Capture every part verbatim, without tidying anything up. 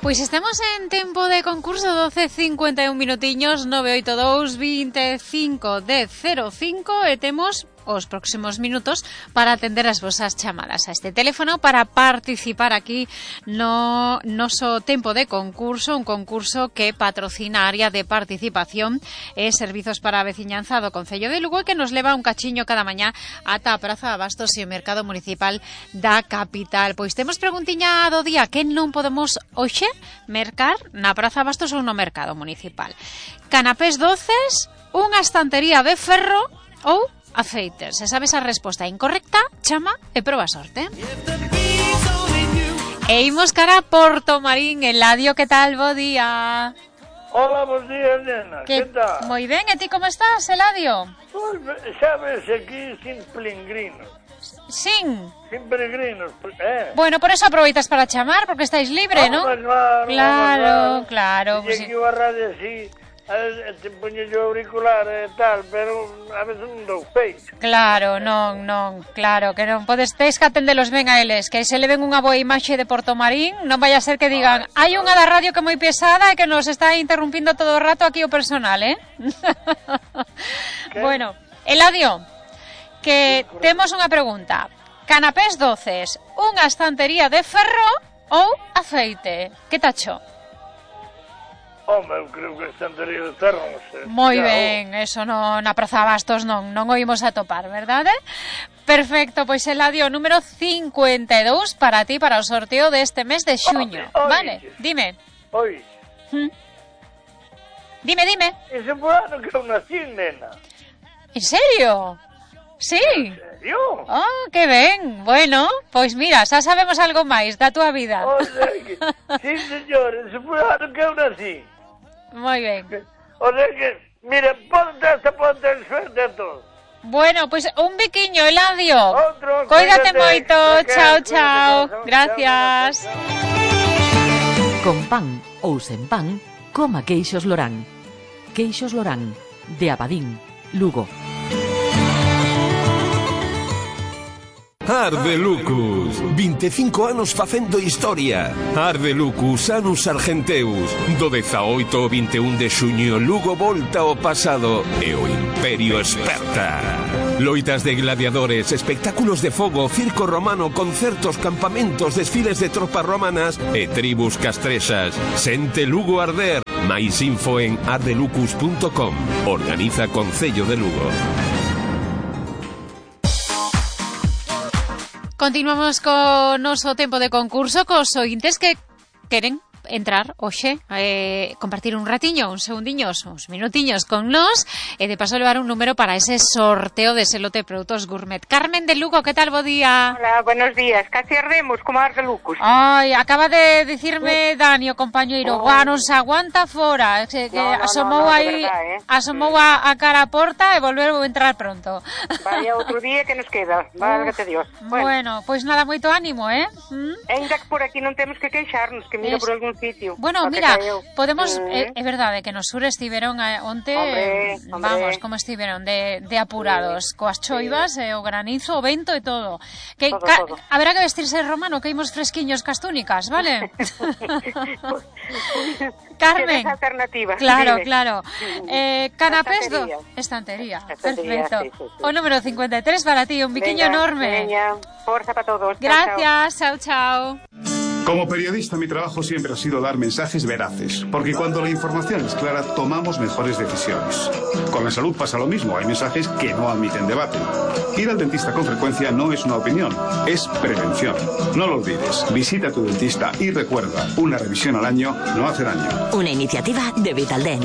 Pois estamos en tempo de concurso, doce cincuenta e un minutiños, nove oito dous, veinticinco, dez, cero cinco, e temos os próximos minutos para atender as vosas chamadas a este teléfono para participar aquí no noso tempo de concurso, un concurso que patrocina a área de participación e servizos para a veciñanza do Concello de Lugo e que nos leva un cachiño cada mañá ata a Praza de Abastos e o Mercado Municipal da capital. Pois temos preguntiña do día: que non podemos hoxe mercar na Praza de Abastos ou no Mercado Municipal? Canapés doces, unha estantería de ferro ou aceites. Se sabes a resposta incorrecta, chama e proba sorte. E imos cara a Portomarín. Eladio, que tal? Bo día. Hola, bons días, nena. Que, que tal? Moi ben, e ti como estás, Eladio? Pues, sabes, aquí sin peregrinos. Sin? Sin peregrinos, eh? Bueno, por eso aproveitas para chamar, porque estáis libre, ¿no? Claro, claro, claro. claro y pues aquí sí. va a radio así, te poño yo auricular e tal, pero a veces non dou feito. Claro, non, non, claro, que non podes, tes que atendelos ben a eles, que se le ven unha boa imaxe de Portomarín, non vai a ser que digan, hai unha da radio que é moi pesada e que nos está interrumpindo todo o rato aquí o personal, eh? Bueno, Eladio, que temos unha pregunta. Canapés doces, unha estantería de ferro ou aceite? Que tacho? Home, eu creo que estantería de ferro, non sei. Moi ben, eso no, na Praza Abastos non, non o imos a topar, verdade? Perfecto, pois Eladio, número cincuenta e dous para ti, para o sorteo deste mes de xuño. Oye, vale, dime. Oi. ¿Mm? Dime, dime. Ese foi ano que eu nací, nena. En serio? Sí. En serio? Oh, que ben. Bueno, pois mira, xa sabemos algo máis da túa vida. O sea que, sí, señor, ese foi ano que eu nací. Moi ben. O sea que, mira, ponte hasta ponte el suerte a todos. Bueno, pois pues un biquiño, Eladio. Outro, Cuídate cuídate, moito. que Chao, cuídate, chao. corazón. Gracias. Chao, chao. Con pan ou sen pan, coma queixos Lorán. Queixos Lorán, de Abadín, Lugo. Arde Lucus, vinte e cinco anos facendo historia. Arde Lucus, Anus Argenteus. Do dezaoito ao vinte e un de xuño, Lugo volta ao pasado e o Imperio esperta. Loitas de gladiadores, espectáculos de fogo, circo romano, concertos, campamentos, desfiles de tropas romanas e tribus castrexas. Sente Lugo arder. Mais info en ardelucus punto com. Organiza Concello de Lugo. Continuamos con noso tempo de concurso cos ointes que queren entrar hoxe, eh, compartir un ratiño, uns segundiños, uns minutiños con nós e de paso levar un número para ese sorteo de ese lote de produtos gourmet. Carmen de Lugo, que tal? Bo día. Hola, buenos días. Casi ardemos como Arde Lucus. Ai, acaba de dicirme Dani, o compañeiro, oh. Guau, non se aguanta fora, que, que no, no, asomou no, no, aí, verdad, eh? asomou a, a cara a porta e volveu a entrar pronto. Vaya outro día que nos queda, válgate Dios. Bueno, bueno, pois pues nada, moito ánimo, eh? ¿Mm? Ainda que por aquí non temos que queixarnos, que miro es... por algún sitio. Bueno, mira, podemos, é mm. eh, verdade que no sur estiveron eh, onte, hombre, vamos, hombre. como estiveron de, de apurados, sí. coas choivas, sí. eh, o granizo, o vento e todo. Que todo, ca- todo. Haberá que vestirse romano, que imos fresquiños cas túnicas, vale? Carmen. Alternativa. Claro, Dime. claro. Eh, canapés do... Estantería. Estantería, perfecto. Sí, sí, sí. O número cincuenta e tres para ti, un biquiño Venga, enorme. Veña, forza para todos. Gracias, chao, chao. Como periodista, mi trabajo siempre ha sido dar mensajes veraces, porque cuando la información es clara, tomamos mejores decisiones. Con la salud pasa lo mismo, hay mensajes que no admiten debate. Ir al dentista con frecuencia no es una opinión, es prevención. No lo olvides, visita a tu dentista y recuerda, una revisión al año no hace daño. Una iniciativa de Vitaldent.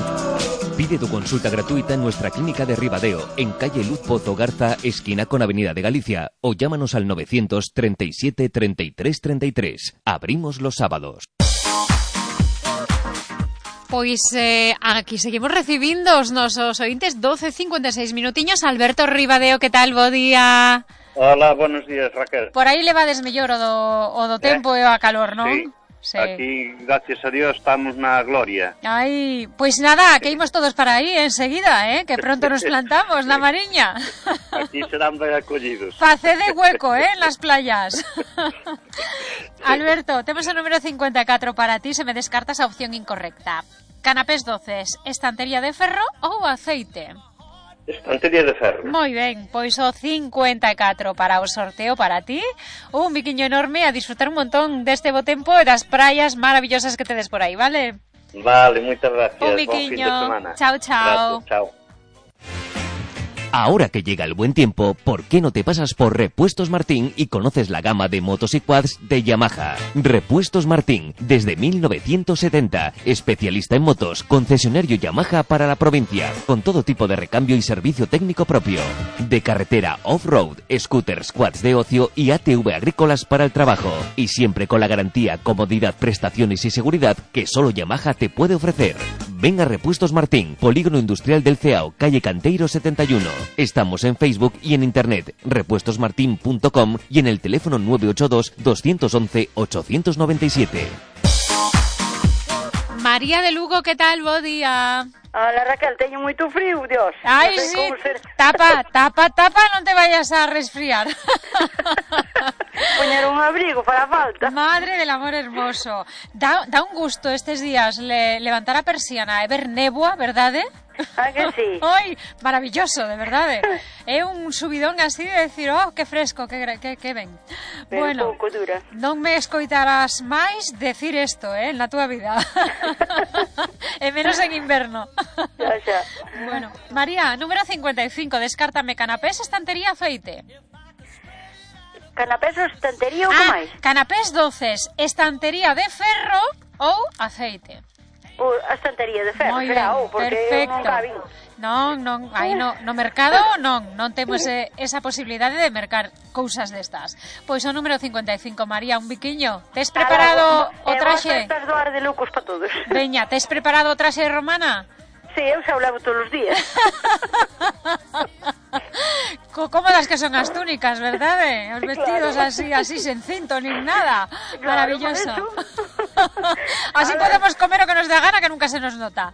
Pide tu consulta gratuita en nuestra clínica de Ribadeo, en calle Luz Pozo Garza, esquina con Avenida de Galicia, o llámanos al novecientos treinta y siete, treinta y tres, treinta y tres. Abrimos los sábados. Pois eh, aquí seguimos recibindo os nosos ointes, doce cincuenta e seis minutiños. Alberto Ribadeo, que tal? Bo día. Hola, buenos días, Raquel. Por aí levades mellor o do, o do tempo eh? e a calor, non? Sí, sí. Aquí, gracias a Dios, estamos na gloria. Ay, pues nada, que íbamos todos para ahí enseguida, ¿eh? Que pronto nos plantamos, la Mariña. Aquí serán ben acollidos. Facé de hueco, ¿eh? En las playas. Alberto, tenemos el número cincuenta y cuatro para ti, se me descarta esa opción incorrecta. Canapés doces, estantería de ferro ou aceite? Estantería de ferro. Moi ben, pois o cincuenta e catro para o sorteo para ti. Un biquiño enorme, a disfrutar un montón deste bo tempo e das praias maravillosas que tedes por aí, vale? Vale, moitas gracias. Un biquiño. Bon fin de semana. Chao, chao. Gracias, chao. Ahora que llega el buen tiempo, ¿por qué no te pasas por Repuestos Martín y conoces la gama de motos y quads de Yamaha? Repuestos Martín, desde mil novecientos setenta, especialista en motos, concesionario Yamaha para la provincia, con todo tipo de recambio y servicio técnico propio. De carretera, off-road, scooters, quads de ocio y A T V agrícolas para el trabajo. Y siempre con la garantía, comodidad, prestaciones y seguridad que solo Yamaha te puede ofrecer. Ven a Repuestos Martín, Polígono Industrial del Ceao, calle Canteiro setenta y uno. Estamos en Facebook y en internet, repuestos martin punto com y en el teléfono nueve ocho dos, dos once, ocho nueve siete. María de Lugo, ¿qué tal? Bo día. Hola Raquel, teño moito frío, Dios. Ai, Non sei sí, como ser- tapa, tapa, tapa, non te vayas a resfriar. Poñer un abrigo para falta. Madre del amor hermoso. Da, da un gusto estes días le, levantar a persiana e ver néboa, verdade? Ah, que sí? Ai, maravilloso, de verdade. É un subidón así de decir, oh, que fresco, que, gra- que, que ben. Pero Bueno, pouco dura. non me escoitarás máis decir isto, eh, na túa vida. E menos en inverno. Xa, xa. Bueno, María, número cincuenta y cinco, descártame canapés, estantería, aceite. Canapés ou estantería ou que Ah, máis? canapés doces, estantería de ferro ou aceite. Ou a estantería de ferro, Moi será, ben, ou, porque eu perfecto. non cabín. Non, non, aí no, no mercado non, non temos eh, esa posibilidade de mercar cousas destas. Pois o número cincuenta y cinco, María, un biquiño. Tes preparado o traxe? E vos doar de lucos para todos. Veña, tes preparado o traxe romana? Sí, eu xa o levo todos os días. Co cómodas que son as túnicas, verdade? Os vestidos Claro. así, así sen cinto nin nada. Claro, Maravilloso. por Así A ver. podemos comer o que nos dé a gana, que nunca se nos nota.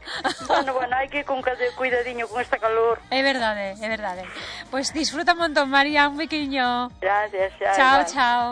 Bueno, bueno, hai que ir con cade- cuidadiño con esta calor. É verdade, é verdade. Pois disfruta un montón, María, un biquiño. Gracias, xa. Chao, xa. chao.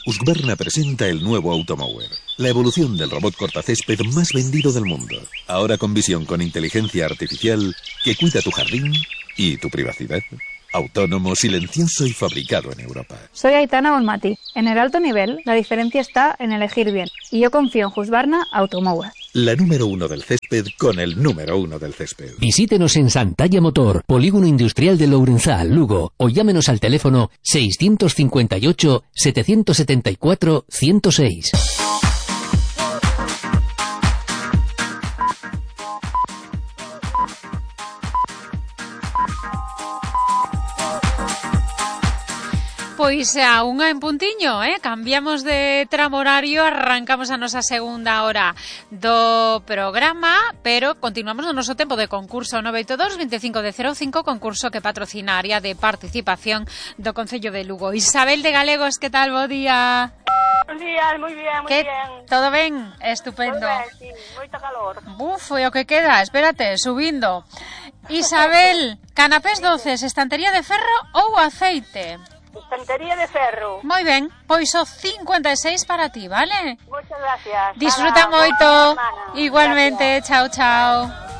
Husqvarna presenta el nuevo Automower, la evolución del robot cortacésped más vendido del mundo. Ahora con visión con inteligencia artificial que cuida tu jardín y tu privacidad. Autónomo, silencioso y fabricado en Europa. Soy Aitana Olmati. En el alto nivel, la diferencia está en elegir bien. Y yo confío en Husqvarna Automower. La número uno del césped con el número uno del césped. Visítenos en Santalla Motor, Polígono Industrial de Lourenzá, Lugo, o llámenos al teléfono seiscientos cincuenta y ocho, setecientos setenta y cuatro, ciento seis. Pois a unha en puntiño, eh? Cambiamos de tramo horario, arrancamos a nosa segunda hora do programa, pero continuamos no noso tempo de concurso nove oito dos, veinticinco de cero cinco, concurso que patrocina a área de participación do Concello de Lugo. Isabel de Galegos, que tal? Bo día. Buenos días, moi bien, moi Que bien. todo ben? Estupendo. Moi ben, sí, moito calor. Buf, e o que queda, espérate, subindo. Isabel, canapés doces, estantería de ferro ou aceite? Estantería de ferro. Moi ben, pois o cincuenta y seis para ti, vale? Moitas gracias. Disfruta Nada, moito. boa semana. Igualmente, chao, chao.